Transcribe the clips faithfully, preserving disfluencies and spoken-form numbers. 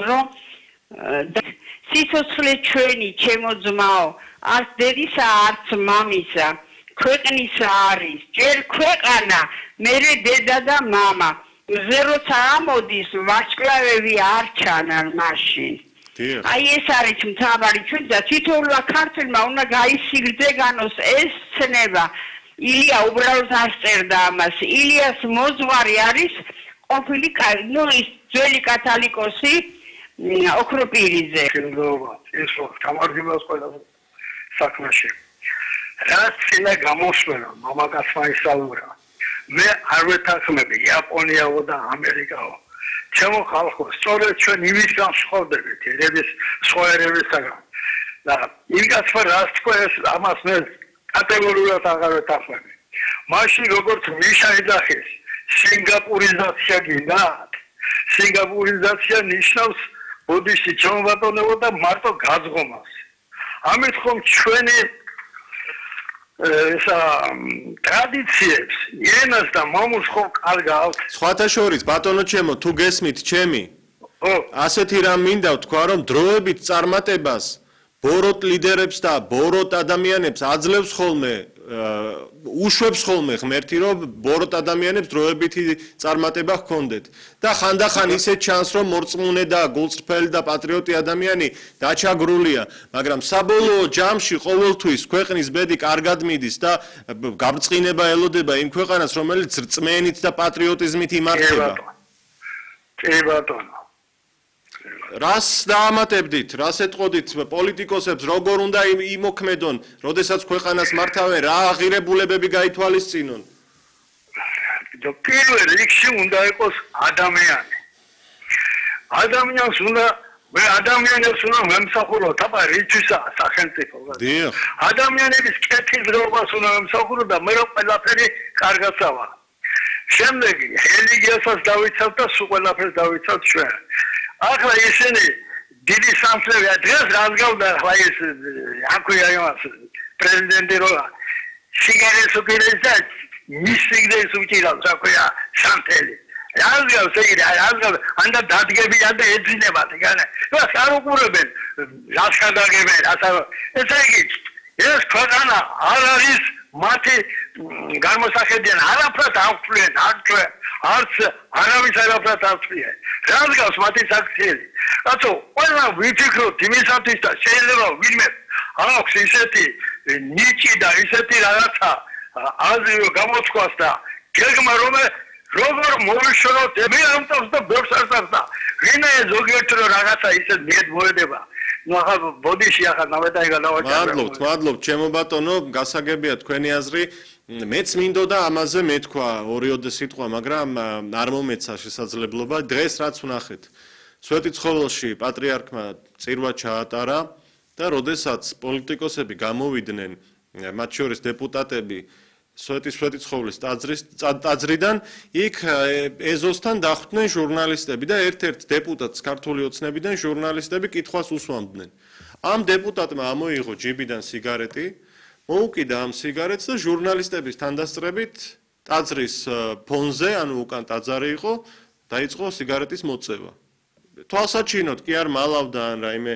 რომ სიცოცხლე ჩვენი ჩემო ძმაო არც დედისა არც მამისა ქვეყნისა არის ჯერ ქვეყანა მერე დედა და მამა მზე როცა ამოდის ვარსკვლავები არ ჩანან მაშინ აი ეს არის მთავარი ჩვენ და თითოეულმა ქართველმა უნდა გაისიგრძეგანოს ეს ცნება ილია უბრალოდ არ წერდა ამას ილიას მოძღვარი არის ყოფილი ნუ ის ძველი კათალიკოსი ოქროპირიძე ეს გამარჯვებას ყველა საქმეში რაც შეიძლება გამოსვენა მამაკაცმა ისაუბრა მე არ ვეთანხმები იაპონიაო და ამერიკაო ჩემო ხალხო სწორედ ჩვენ იმისგან ვსხვავდებით ერების სხვაერებისაგან და იმას რაც თქვა ეს ამას მე კატეგორიულად აღარ ვეთანხმები მაშინ როგორც მიშა ეძახის სინგაპურიზაცია გინდა სინგაპურიზაცია ნიშნავს ბოდიში ჩამოვატონებო და მარტო გაზღომას ამით ხომ ჩვენი ესა ტრადიციებს ენას და მომუშ ხო კარგავთ სხვათა შორის ბატონო ჩემო თუ გესმით ჩემი ასეთი რამ მინდა ვთქვა რომ დროებით წარმატებას ბოროტ ლიდერებს და ბოროტ ადამიანებს აძლევს ხოლმე უშვებს ხოლმე ღმერთი რომ ბოროტ ადამიანებს დროებითი წარმატება ჰქონდეთ და ხანდახან ისე ჩანს რომ მორწმუნე და გულწრფელი და პატრიოტი ადამიანი დაჩაგრულია მაგრამ საბოლოო ჯამში ყოველთვის ქვეყნის ბედი კარგად მიდის და გამწყინება ელოდება იმ ქვეყანას რომელიც რწმენით და პატრიოტიზმით იმართება კი ბატონო რას დაამატებდით, რას ეტყოდით პოლიტიკოსებს, როგორ უნდა იმოქმედონ, როდესაც ქვეყანას მართავენ, რა აღირებულებები გაითვალისწინონ? პირველ რიგში უნდა იყოს ადამიანი. ადამიანს უნდა მე ადამიანებს უნდა მემსახუროთ, აბა რითვისაა სახელმწიფო? ადამიანების კეთილდღეობას უნდა მემსახუროთ და მე რო ყველაფერი კარგაცავა. შემდეგ რელიგიასაც დავიცავთ და სულ ყველაფერს დავიცავთ ჩვენ. ახლა ისინი დიდი სამსლევია დღეს რაზგავდა ახლა ეს აქვეა იმას პრეზიდენტი რო სიგარეტს უკიდებს და მის სიგარეტს უკიდავს აქვეა სამთელი რაზგავს ეგ რაზგავს ანდა დადგებიან და ეძინებათ იგანა რას არ უყურებენ რას გადაგებენ რას ეს იგი ეს ქვეყანა არ არის მათი გამოსახედიან არაფრად აღწვიან აღწვიან არც არავის არაფრად აღწვიან რადგანს მათი საქციელი რატო ყველა ვიფიქროთ იმისათვის და შეიძლება ვინმე აქვს ისეთი ნიჭი და ისეთი რაღაცა აზრი გამოთქვას და გეგმა რომ როგორ მოვიშოროთ მე ამტავს და ბევრს არსავს და ვინმე ზოგიერთ რაღაცა ისეთ მიედ მოედება ну ახლა ბოდიში ახლა ნავეტაი გადავაჭერე მადლობთ მადლობთ ჩემო ბატონო გასაგებია თქვენი აზრი მეც მინდოდა ამაზე მეთქვა ორიოდე სიტყვა მაგრამ არ მომეცა შესაძლებლობა დღეს რაც ვნახეთ სვეტიცხოველში პატრიარქმა წირვა ჩაატარა და როდესაც პოლიტიკოსები გამოვიდნენ მათ შორის დეპუტატები სვეტიცხოვლის ტაძრის ტაძრიდან იქ ეზოსთან დახვდნენ ჟურნალისტები და ერთ-ერთ დეპუტატს ქართული ოცნებიდან ჟურნალისტები კითხვას უსვამდნენ ამ დეპუტატმა ამოიღო ჯიბიდან სიგარეტი მოუკიდა ამ სიგარეტს და ჟურნალისტების თანდასწრებით ტაძრის ფონზე ანუ უკან ტაძარი იყო დაიწყო სიგარეტის მოწევა თვალსაჩინოდ კი არ მალავდა ან რაიმე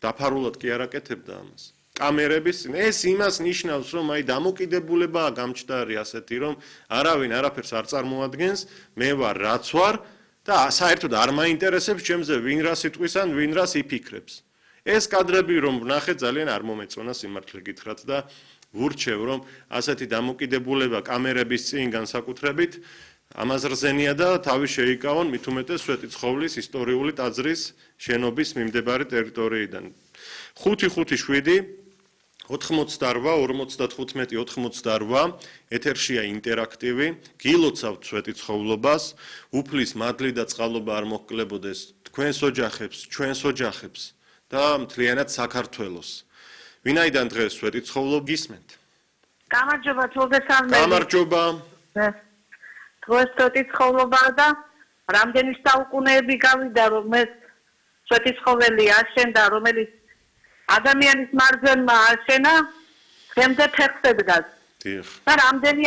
დაფარულად კი არ აკეთებდა ამას კამერების ეს იმას ნიშნავს რომ აი დამოკიდებულებაა გამჭდარი ასეთი რომ არავინ არაფერს არ წარმოადგენს მე ვარ რაც ვარ და საერთოდ არ მაინტერესებს ჩემზე ვინ რა სიტყვის ან ვინ რას იფიქრებს ეს კადრები რომ ვნახე ძალიან არ მომეწონა სიმართლე გითხრათ და ვურჩევ რომ ასეთი დამოკიდებულება კამერების წინ განსაკუთრებით ამაზრზენია და თავი შეიკავონ მით უმეტეს სვეტიცხოვლის ისტორიული ტაძრის შენობის მიმდებარე ტერიტორიიდან ხუთი ხუთი შვიდი ოთხმოცდარვა ორმოცდათხუთმეტი ოთხმოცდარვა ეთერშია ინტერაქტივი გილოცავთ სვეტიცხოვლობას უფლის მადლი და წყალობა არ მოჰკლებოდეს თქვენს ოჯახებს ჩვენს ოჯახებს და მთლიანად საქართველოს ვინაიდან დღეს სვეტიცხოვლო გისმენთ გამარჯობა თულდესალმე გამარჯობა დღეს სვეტიცხოვლობა და რამდენი საუკუნეები გავიდა რომ მე სვეტიცხოველი აშენდა რომელიც ადამიანის მარჯვენმა აშენა, დღემდე ფეხზე დგას. და რამდენი